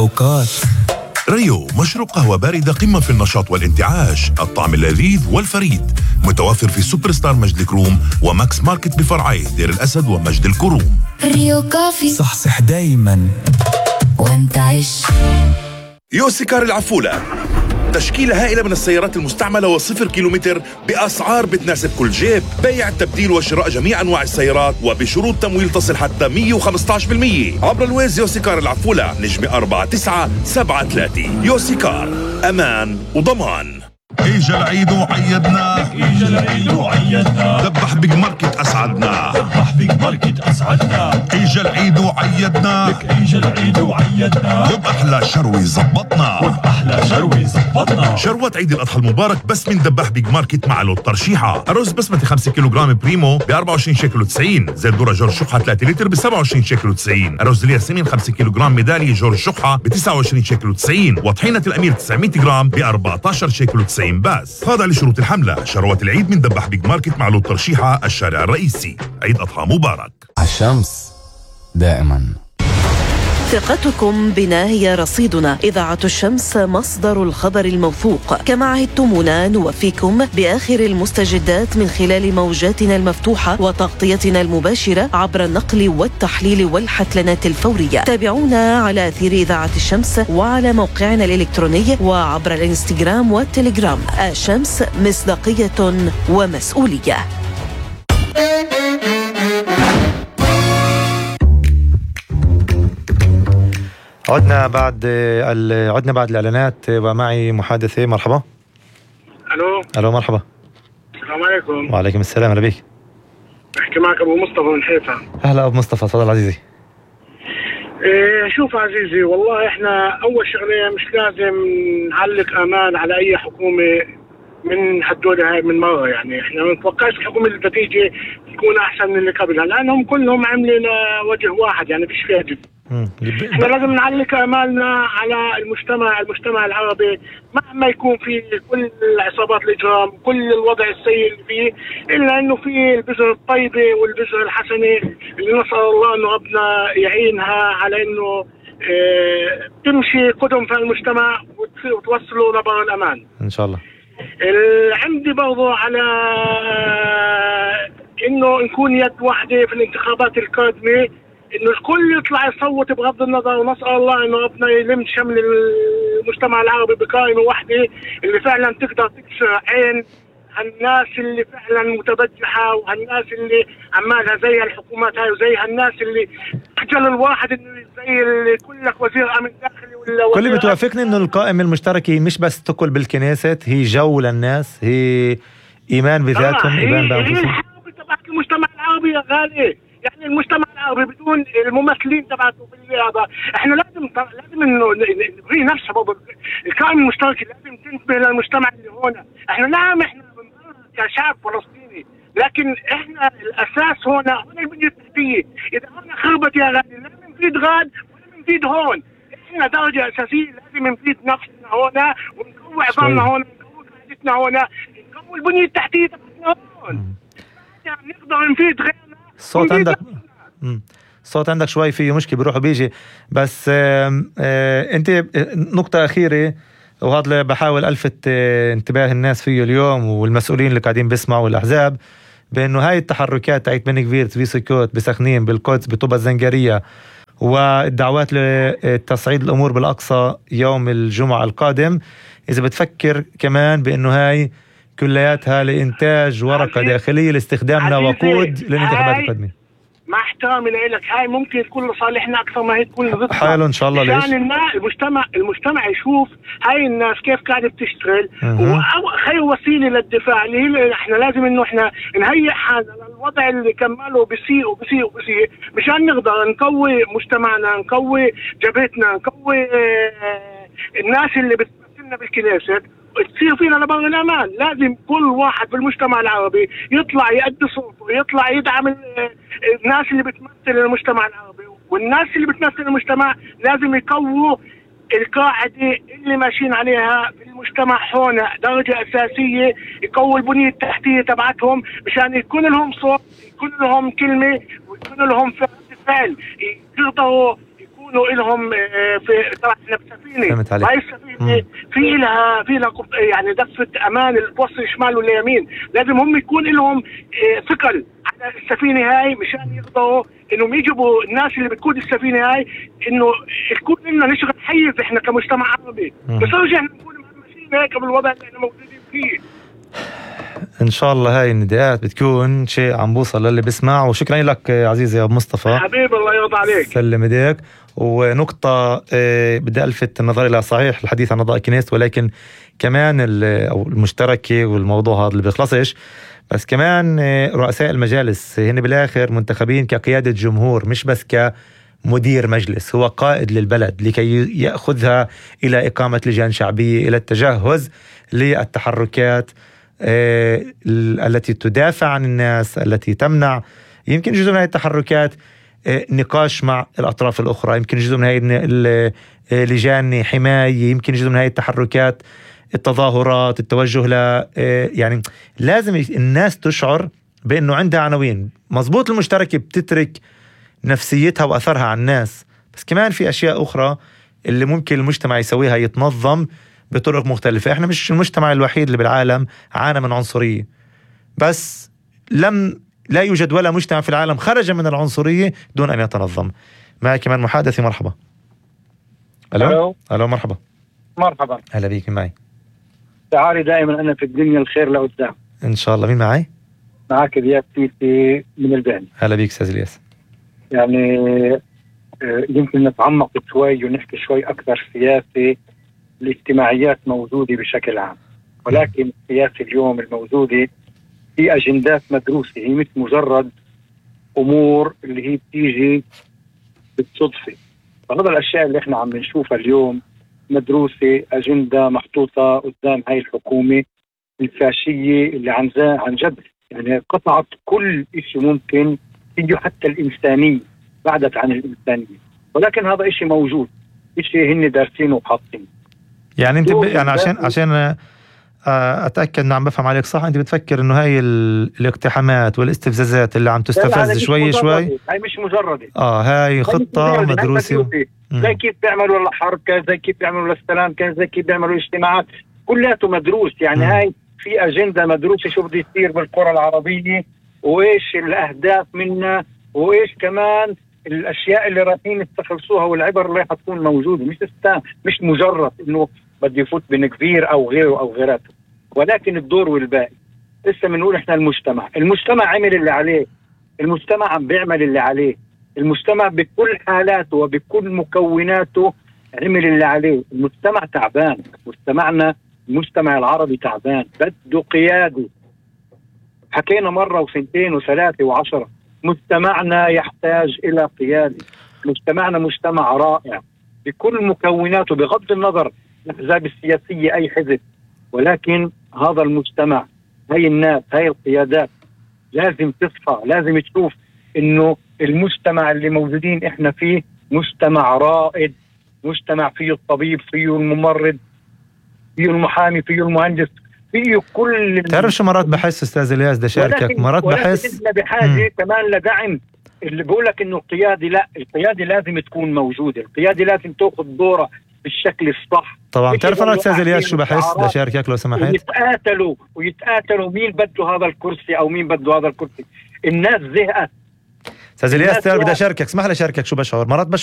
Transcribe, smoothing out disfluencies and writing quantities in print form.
أوقات ريو مشروب قهوة باردة قمة في النشاط والانتعاش، الطعم اللذيذ والفريد، متوفر في سوبر ستار مجد الكروم وماكس ماركت بفرعيه دير الأسد ومجد الكروم. ريو كافي صحصح دايما وانتعش. يوسيكار العفولة، تشكيلة هائلة من السيارات المستعملة وصفر كيلومتر بأسعار بتناسب كل جيب، بيع تبديل وشراء جميع أنواع السيارات وبشروط تمويل تصل حتى 115% عبر الويز. يوسيكار العفولة، نجمة 4973. يوسيكار، أمان وضمان. اجا العيد وعيدنا، اجا العيد وعيدنا، دبح بيج ماركت اسعدنا، دبح بيج ماركت اسعدنا، اجا العيد وعيدنا، اجا العيد وعيدنا، وبأحلى شروي زبطنا، وبأحلى شروي زبطنا. شروة عيد الأضحى المبارك بس من دبح بيج ماركت مع لوت ترشيحة. الرز بسمتي 5 كيلوغرام بريمو ب 24 شيكل و90. زيت ذرة جورج شقحة 3 لتر ب 27 شيكل و90. الرز الياسمين 5 كيلوغرام ميدالية جورج شقحة ب 29 شيكل و90. وطحينة الأمير 900 جرام ب 14 شيكل و90 بس. خاضع لشروط الحملة. شروة العيد من دبح بيج ماركت مع لوت ترشيحة، الشارع الرئيسي. عيد أضحى مبارك. الشمس دائما. ثقتكم بنا هي رصيدنا. إذاعة الشمس مصدر الخبر الموثوق. كما عهدتمونا نوفيكم بآخر المستجدات من خلال موجاتنا المفتوحة وتغطيتنا المباشرة عبر النقل والتحليل والحتلنات الفورية. تابعونا على أثير إذاعة الشمس وعلى موقعنا الإلكتروني وعبر الإنستغرام والتليجرام. الشمس، مصداقية ومسؤولية. عدنا بعد الإعلانات ومعي محادثة. مرحبا. ألو مرحبا. السلام عليكم. وعليكم السلام. أهلا بك. بحكي معك أبو مصطفى من حيفا. أهلا أبو مصطفى، تفضل عزيزي. شوف عزيزي، والله إحنا أول شغلة مش لازم نعلق أمان على أي حكومة من هدول هاي من مرة. يعني إحنا ما نتوقعش الحكومة اللي بتيجي تكون أحسن من اللي قبلها، لأنهم كلهم عاملين وجه واحد، يعني فيش فيها جد. احنا لازم نعلق امالنا على المجتمع العربي، مهما يكون في كل عصابات الاجرام، كل الوضع السيء اللي فيه، الا انه في البذر الطيبه والبذر الحسنه اللي نسال الله انه ربنا يعينها على انه تمشي قدم في المجتمع وتوصلوا لبر الامان ان شاء الله. عندي برضو على انه نكون يد واحده في الانتخابات القادمه، انه الكل يطلع يصوت بغض النظر، ونسال الله انه ربنا يلم شمل المجتمع العربي بقائمه واحده اللي فعلا تقدر تكسر عين هالناس اللي فعلا متبجحه، وهالناس اللي عمالها زي الحكومات هاي، وزي هالناس اللي اجل الواحد انه زي اللي كلك وزير امن داخلي ولا كل بتوافقني انه القائمه المشتركه مش بس تقل بالكنيسة، هي جو للناس، هي ايمان بذاتهم، ايمان بانفسهم. هي الحرب تبعت المجتمع العربي يا غالي. يعني المجتمع العربي بدون الممثلين تبعته بالرياضه، احنا لازم انه نبغي نفسها برضه. القائمه المشتركه لازم تنتبه للمجتمع اللي هون. احنا نعم احنا كشعب فلسطيني، لكن احنا الاساس هون البنيه التحتيه. اذا هون خربت يا غالي لا بنفيد غاد ولا بنفيد هون. احنا درجه اساسيه لازم نفيد نفسنا هون، ونقوي عظامنا هون، نقوي قاعدتنا هون، نقوي البنيه التحتيه تبعتنا هون. يعني نقدر نفيد غيرنا. الصوت عندك شوي فيه مشكلة، بيروح وبيجي. بس انت نقطة أخيرة، وهذا اللي بحاول ألفت انتباه الناس فيه اليوم والمسؤولين اللي قاعدين بيسمعوا الأحزاب، بأنه هاي التحركات تاعت بن كبير في سكوت بسخنين بالقدس بطوبة الزنجرية والدعوات لتصعيد الأمور بالأقصى يوم الجمعة القادم، إذا بتفكر كمان بأنه هاي كلياتها لإنتاج ورقة داخلية لاستخدامنا وقود للانتخابات القادمة. مع احترامي لك، هاي ممكن تكون لصالحنا أكثر ما هي تكون ضدنا. حلو إن شاء الله. ليش؟ عشان المجتمع يشوف هاي الناس كيف قاعدة بتشتغل، وخير وسيلة للدفاع اللي هي احنا لازم انه احنا نهيئ حالنا للوضع اللي كماله بيسيء مشان نقدر نقوي مجتمعنا، نقوي جبهتنا، نقوي الناس اللي بتمثلنا بالكنيسة، تصير فينا لبر الأمان. لازم كل واحد بالمجتمع العربي يطلع يأدي صوته، يطلع يدعم الناس اللي بتمثل المجتمع العربي، والناس اللي بتمثل المجتمع لازم يقووا القاعدة اللي ماشيين عليها في المجتمع هون درجة أساسية، يقووا البنية التحتية تبعتهم مشان يكون لهم صوت، يكون لهم كلمة، ويكون لهم فعل، يقدروا يكونوا لهم في طبعا احنا بسفينه. فهمت عليك. هاي السفينه في لها يعني دفه امان توصل شمال ولا يمين، لازم هم يكون لهم ثقل على السفينه هاي مشان يقدروا انهم يجيبوا الناس اللي بتقود السفينه هاي، انه يكون لنا نشغل حيز احنا كمجتمع عربي. بس رجعنا نكون مهمشين هيك بالوضع اللي احنا موجودين فيه. ان شاء الله هاي النداءات بتكون شيء عم بوصل للي بسمع. وشكرا لك عزيزي يا ابو مصطفى، حبيبي الله يرضى عليك. سلم ايديك. ونقطة بدي ألفت النظر إلى صحيح الحديث عن أعضاء الكنيست، ولكن كمان أو المشتركة والموضوع هذا اللي بيخلصش، بس كمان رؤساء المجالس هن بالآخر منتخبين كقيادة جمهور، مش بس كمدير مجلس، هو قائد للبلد لكي يأخذها إلى إقامة لجان شعبية، إلى التجهز للتحركات التي تدافع عن الناس، التي تمنع. يمكن جزء من هذه التحركات نقاش مع الأطراف الأخرى، يمكن جزء من هذه لجان حماية، يمكن جزء من هذه التحركات التظاهرات، التوجه يعني لازم الناس تشعر بأنه عندها عناوين مزبوط. المشتركة بتترك نفسيتها وأثرها على الناس، بس كمان في أشياء أخرى اللي ممكن المجتمع يسويها، يتنظم بطرق مختلفة. احنا مش المجتمع الوحيد اللي بالعالم عانى من عنصرية، بس لا يوجد ولا مجتمع في العالم خرج من العنصرية دون أن يتنظم. معي كمان محادثي، مرحبا. ألو مرحبا. مرحبا، هلا بيك. معي تعالي دائما أنا في الدنيا الخير لقدام إن شاء الله. مين معي؟ معك الياس سيسي من البعني. هلا بيك أستاذ الياس. يعني يمكن نتعمق شوي ونحكي شوي أكثر سياسي. الاجتماعيات موجودة بشكل عام، ولكن السياسة اليوم الموجودة في أجندات مدروسة، هي مش مجرد أمور اللي هي بتيجي بالصدفة. فهذا الأشياء اللي احنا عم نشوفها اليوم مدروسة، أجندة محطوطة قدام هاي الحكومة الفاشية اللي عن جد يعني قطعت كل إشي ممكن فيه، حتى الإنسانية بعدت عن الإنسانية. ولكن هذا إشي موجود، إشي هن دارسينه وحاطينه. يعني انت يعني عشان اتاكد ان عم بفهم عليك صح، انت بتفكر انه هاي الاقتحامات والاستفزازات اللي عم تستفز شوي شوي هاي مش مجرده، هاي خطه مدروسه. زي كيف بيعملوا الحرب، زي كيف بيعملوا للسلام، زي كيف بيعملوا الاجتماعات، كلياته مدروس. يعني هاي في اجنده مدروسه شو بده يصير بالقرى العربيه، وايش الاهداف منها، وايش كمان الاشياء اللي رايحين يستخلصوها، والعبر اللي راح تكون موجوده. مش مجرد انه بده يفوت بنكفير او غيره او غيراته، ولكن الدور والباقي. لسه بنقول احنا المجتمع عمل اللي عليه، المجتمع عم بيعمل اللي عليه، المجتمع بكل حالاته وبكل مكوناته عمل اللي عليه. المجتمع تعبان، مجتمعنا المجتمع العربي تعبان، بده قيادة. حكينا مرة وسنتين وثلاثة وعشرة، مجتمعنا يحتاج إلى قيادة. مجتمعنا مجتمع رائع بكل مكوناته بغض النظر الأحزاب السياسية أي حزب، ولكن هذا المجتمع، هاي الناس، هاي القيادات لازم تصحى، لازم تشوف إنه المجتمع اللي موجودين إحنا فيه مجتمع رائد، مجتمع فيه الطبيب، فيه الممرض، فيه المحامي، فيه المهندس، فيه كل. تعرف شو مرات بحس أستاذ الياس، ده شاركك مرات بحس بحاجة كمان لدعم. اللي بقولك إنه القيادة، لا، القيادة لازم تكون موجودة، القيادة لازم تأخذ دورها بالشكل الصح. طبعا تعرف أنا أستاذ الياس شو بحس، ده شاركك لو سمحت. ويتقاتلوا مين بده هذا الكرسي أو مين بده هذا الكرسي. الناس زهقت. أستاذ الياس بدي أشاركك، اسمح لي أشاركك شو بشعر مرات